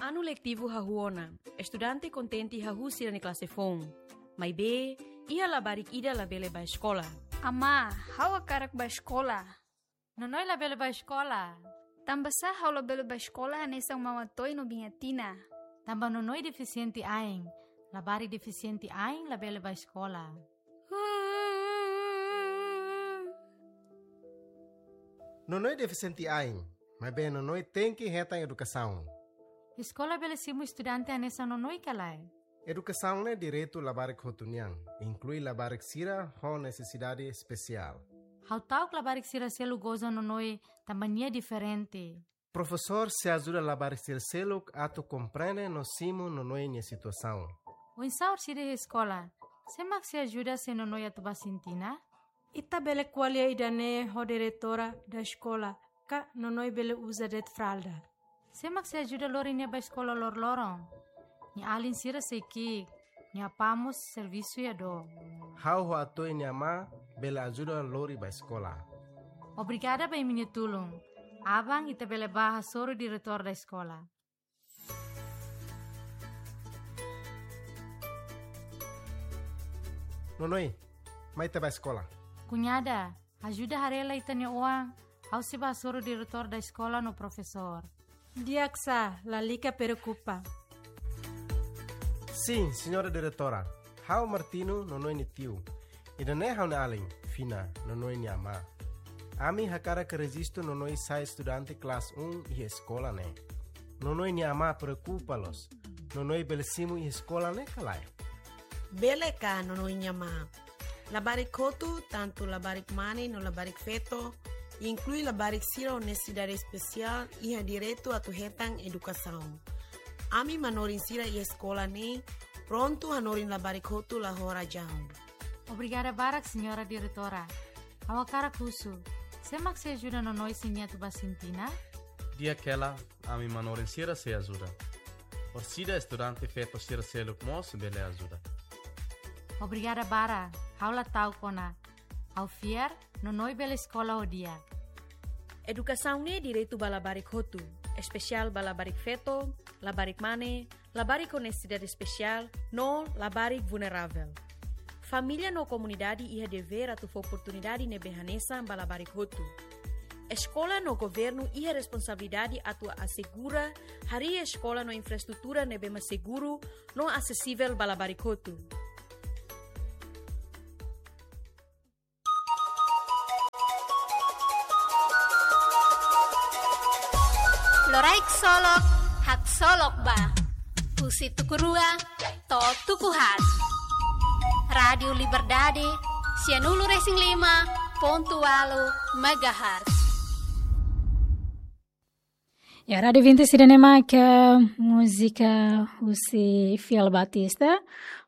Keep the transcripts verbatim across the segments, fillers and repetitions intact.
Anu letivu hahú ona, estudante kontente hahú sira-nia klase foun. Maibé, iha labarik ida labele bá eskola. Amá, ha'u hakarak bá eskola. Nonoi labele bá eskola. Tanbasá ha'u labele bá eskola hanesan Mama Toy no Biña Tina? Tanba Nonoi defisiente ain. Labarik defisiente ain labele bá eskola. Nonoi defisiente ain, maibé Nonoi tenke hetan edukasaun. Eskola bele simu estudante hanesan Nonoi ka lae? Edukasaun ne'e direitu labarik hotu nian, inklui labarik sira ho nesesidade espesiál. Ha'u ta'uk labarik sira seluk goza Nonoi tanba nia diferente. Profesór sei ajuda labarik sira seluk atu komprende no simu Nonoi nia situasaun. Oinsá orsida iha eskola? Sé mak sei ajuda se Nonoi atu bá sintina? Ita bele ko'alia ida-ne'e ho diretora da eskola, ka Nonoi bele uza de'it fralda. Sé mak sei ajuda lori nia bá eskola loroloron? Nia alin sira sei ki'ik, nia apá mós servisu iha dook. Ha'u ho Atoy nia amá bele ajuda lori bá eskola. Obrigada ba imi-nia tulun. Aban ita bele bá hasoru diretór da eskola. Nonoi, mai ita bá eskola. Kuñada, ajuda haree lai ita-nia oan, ha'u sei bá hasoru diretór da eskola no profesór. Di'ak sá, lalika preokupa. Sin, señora diretora. Ha'u Martino, Nonoi nia tiu. Ida-ne'e ha'u-nia alin, Fina, Nonoi nia amá. Ami hakarak rejistu Nonoi sai estudante klase um iha eskola ne'e. Nonoi nia amá preokupa loos. Nonoi bele simu iha eskola ne'e ka lae? Bele ka, Nonoi nia amá. Labarik hotu, tantu labarik mane no labarik feto, inklui labarik sira ho nesesidade espesiál, iha direitu atu hetan edukasaun. Ami manorin sira iha eskola ne'e prontu hanorin labarik hotu la ho razaun. Obrigada barak, señora diretora. Ha'u hakarak husu, sé mak sei ajuda Nonoi se nia atu bá sintina? Di'ak hela, ami manorin sira sei ajuda. Orsida estudante feto sira seluk mós bele ajuda. Obrigada barak, ha'u la ta'uk ona. Ha'u fiar, Nonoi bele eskola ho di'ak. Edukasaun ne'e direitu ba labarik hotu, espesiál ba labarik feto, labarik mane, labarik ho nesesidade espesiál, no labarik vulneravel. Família no komunidade iha devér atu fó oportunidade ne'ebé hanesan ba labarik hotu. Eskola no governu iha responsabilidade atu asegura harii eskola no infraestrutura ne'ebé mak seguru no asesivel ba labarik hotu. Loraik Solok, haksolok ba. Husi tuku rua to'o tuku haat. Rádiu Liberdade, sianulu resin lima pontu ualu megahertz. Ya, Rádiu Vinti sira-ne'e mak múzika husi Fiel Batista.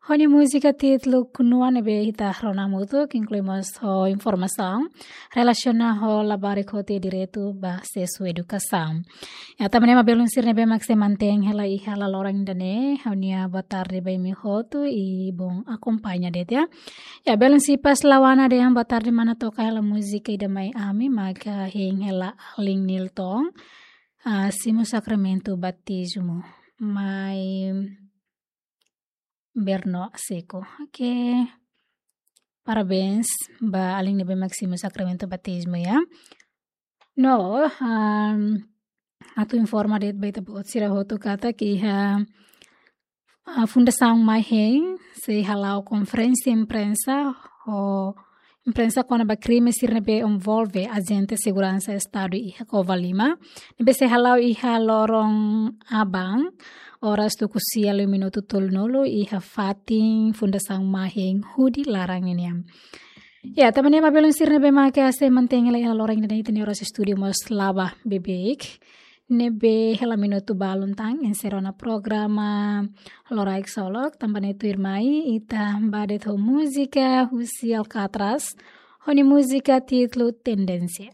Ho nia múzika títulu Knua ne'ebé ita rona hamutuk, inklui mós ho informasaun relasiona ho labarik hotu nia direitu ba asesu edukasaun. Ya, tanba ne'e mak belun sira ne'ebé mak sei mantein hela iha hela loron ida-ne'e, ha'u-nia boa tarde ba imi hotu i bom akompaña de'it ya. Ya, belun sira pas lawana dehan boa tarde mana toka hela múzika ida mai ami, maka hein hela alin Nilton, ah, simu sakramentu batizmu. Mai Berno Seco. Oke. Parabéns ba alin ne'ebé mak simu sakramentu batizmu ya. No, um, atu informa de'it ba ita-boot sira hotu katak iha, ah, Fundasaun Mai Hein sei hala'o konferénsia imprensa ho imprensa kona-ba krime sira ne'ebé envolve ajente seguransa Estadu iha Covalima, ne'ebé sei hala'o iha loron aban, oras tuku sia liu minutu tolunulu iha fatin Fundasaun Mai Hein hudi laran ninian. Ya, tanba ne'e mak belun sira ne'ebé mak sei mantein hela iha loron ida-ne'e, ita-nia oras estúdiu mós laba beibeik. Ne'ebé hela minutu balun tan enserra ona programa Loraik Solok, tanba ne'e tuirmai ita bá de'it ho múzika husi Alcatraz, ho nia múzika títulu Tendénsia.